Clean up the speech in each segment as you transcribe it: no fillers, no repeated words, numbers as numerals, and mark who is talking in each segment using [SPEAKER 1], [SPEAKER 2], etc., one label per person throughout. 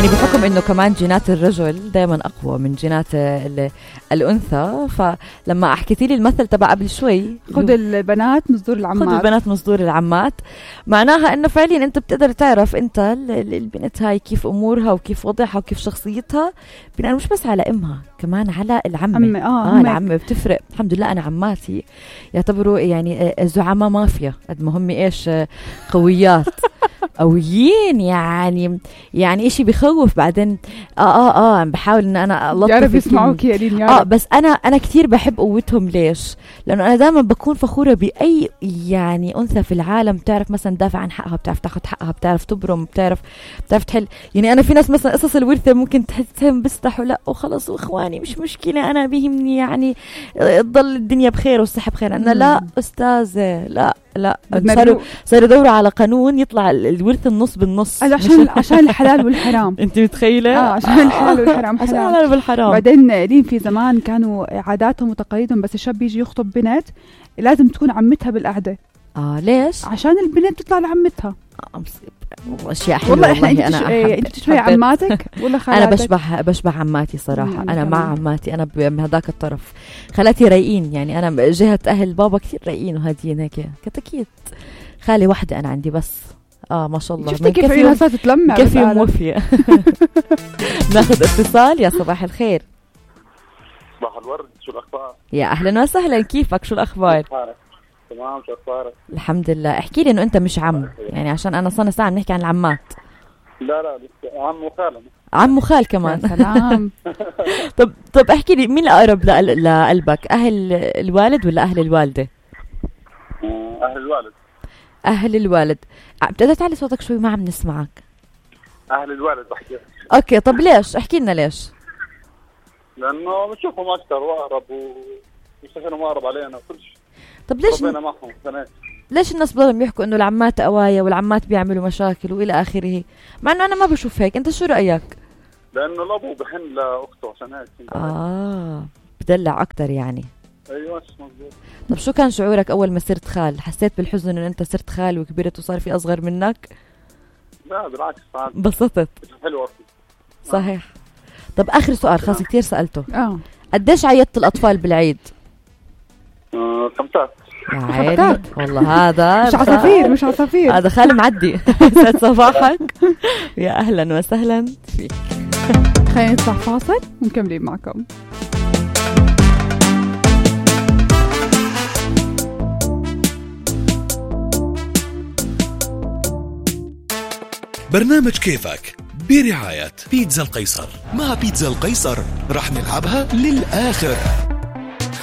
[SPEAKER 1] يعني بحكم انه كمان جينات الرجل دائما اقوى من جينات الانثى، فلما حكيتي لي المثل تبع قبل شوي
[SPEAKER 2] خذ البنات مصدور العمات،
[SPEAKER 1] خذ البنات مصدور العمات، معناها انه فعليا انت بتقدر تعرف انت البنت هاي كيف امورها وكيف وضعها وكيف شخصيتها بناء مش بس على امها، كمان على العمة. العمة بتفرق. الحمد لله انا عماتي يعتبروا يعني زعماء مافيا قد ما هم ايش قويات قويين، يعني إشي بخوف. بعدين عم بحاول إن أنا ألطف
[SPEAKER 2] يا رب يسمعوك يا ريم يا رب.
[SPEAKER 1] بس أنا كتير بحب قوتهم. ليش؟ لأنه أنا دائما بكون فخورة بأي يعني أنثى في العالم بتعرف مثلا دافع عن حقها، بتعرف تاخد حقها، بتعرف تبرم، بتعرف تحل. يعني أنا في ناس مثلا قصص الورثة ممكن تحسهم بيستحوا، لا وخلص وإخواني مش مشكلة، أنا بيهمني يعني تضل الدنيا بخير والصحة بخير. أنا لا أستاذة، لا صاروا يدوروا على قانون يطلع الورث النص بالنص
[SPEAKER 2] عشان الحلال والحرام.
[SPEAKER 1] انت متخيله؟
[SPEAKER 2] عشان الحلال والحرام.
[SPEAKER 1] عشان الحلال والحرام.
[SPEAKER 2] بعدين ريم في زمان كانوا عاداتهم وتقاليدهم بس الشاب يجي يخطب بنت لازم تكون عمتها بالقعده.
[SPEAKER 1] ليش؟
[SPEAKER 2] عشان البنت تطلع لعمتها.
[SPEAKER 1] اشياء حلوه
[SPEAKER 2] والله. انت تشبه عماتك ولا خالاتك؟
[SPEAKER 1] انا بشبه عماتي صراحه. انا مع عماتي، انا بهداك الطرف. خالاتي رايقين، يعني انا جهه اهل بابا كثير رايقين وهاديين هيك كتاكيد. خالي وحده انا عندي بس ما شاء الله.
[SPEAKER 2] شفتي كيف الناس تتلمع
[SPEAKER 1] كيف موفيه. ناخذ اتصال. يا صباح الخير.
[SPEAKER 3] صباح الورد، شو الاخبار؟
[SPEAKER 1] يا اهلا وسهلا، كيفك؟ شو الاخبار؟
[SPEAKER 3] تمام، شو اخبارك؟
[SPEAKER 1] الحمد لله. احكي لي انه انت مش عم، يعني عشان انا صرنا ساعه بنحكي عن العمات.
[SPEAKER 3] لا لسه عم وخال.
[SPEAKER 1] عم وخال كمان.
[SPEAKER 2] سلام.
[SPEAKER 1] طب احكي لي مين الاقرب لقلبك، اهل الوالد ولا اهل الوالده؟
[SPEAKER 3] اهل الوالد.
[SPEAKER 1] اهل الوالد. بتقدر تعلي صوتك شوي، ما عم نسمعك.
[SPEAKER 3] اهل الوالد بحكي.
[SPEAKER 1] اوكي، طب ليش؟ احكي لنا ليش.
[SPEAKER 3] لانه بنشوفهم اكثر واقرب ويستخدموا مقرب علينا وكل شيء.
[SPEAKER 1] طب ليش ليش الناس بضلهم يحكوا انه العمات قوايا والعمات بيعملوا مشاكل والى اخره، مع انه انا ما بشوف هيك؟ انت شو رايك؟
[SPEAKER 3] لانه الابو بحن لاخته عشان هيك.
[SPEAKER 1] بدلع اكثر يعني.
[SPEAKER 3] ايوه مظبوط.
[SPEAKER 1] طب شو كان شعورك اول ما صرت خال؟ حسيت بالحزن انه انت صرت خال وكبرت وصار في اصغر منك؟
[SPEAKER 3] لا بالعكس،
[SPEAKER 1] انبسطت.
[SPEAKER 3] حلوه.
[SPEAKER 1] صحيح. طب اخر سؤال، خاص كتير سالته.
[SPEAKER 2] قديش
[SPEAKER 1] عيدت الاطفال بالعيد؟
[SPEAKER 3] 5.
[SPEAKER 1] يا عيني والله. هذا
[SPEAKER 2] مش عصافير
[SPEAKER 1] هذا خال معدي. سعد صباحك. يا اهلا وسهلا فيك.
[SPEAKER 2] خلينا نطلع فاصل ونكمل معكم.
[SPEAKER 4] برنامج كيفك برعاية بيتزا القيصر. مع بيتزا القيصر رح نلعبها للآخر.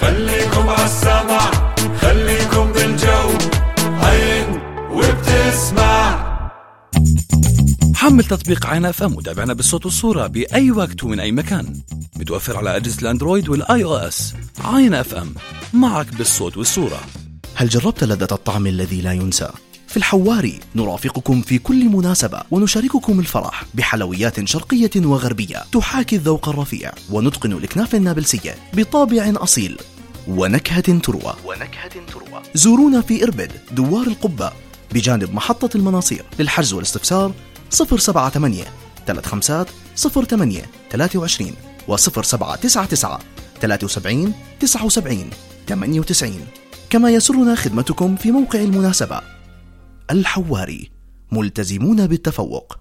[SPEAKER 5] خليكم عالسمع، خليكم بالجو، عين وبتسمع.
[SPEAKER 4] حمل تطبيق عين اف ام وتابعنا بالصوت والصورة بأي وقت ومن أي مكان. متوفر على أجهزة الأندرويد والآي أو إس. عين اف ام، معك بالصوت والصورة.
[SPEAKER 6] هل جربت لذة الطعم الذي لا ينسى؟ في الحواري نرافقكم في كل مناسبة ونشارككم الفرح بحلويات شرقية وغربية تحاكي الذوق الرفيع، ونتقن الإكناف النابلسية بطابع أصيل ونكهة تروى. زورونا في إربد دوار القبة بجانب محطة المناصير. للحجز والاستفسار 078 35 08 23 و 0799 73 79 98. كما يسرنا خدمتكم في موقع المناسبة. الحواري، ملتزمون بالتفوق.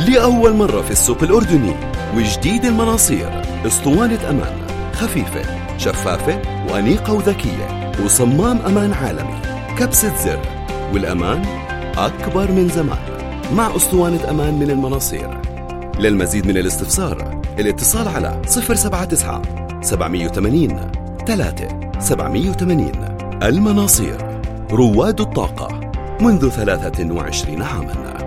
[SPEAKER 7] لأول مرة في السوق الأردني وجديد المناصير، اسطوانة أمان خفيفة شفافة وأنيقة وذكية، وصمام أمان عالمي، كبسة زر، والأمان أكبر من زمان مع اسطوانة أمان من المناصير. للمزيد من الاستفسار الاتصال على 079 780 3780. المناصير، رواد الطاقة منذ 23 عاما.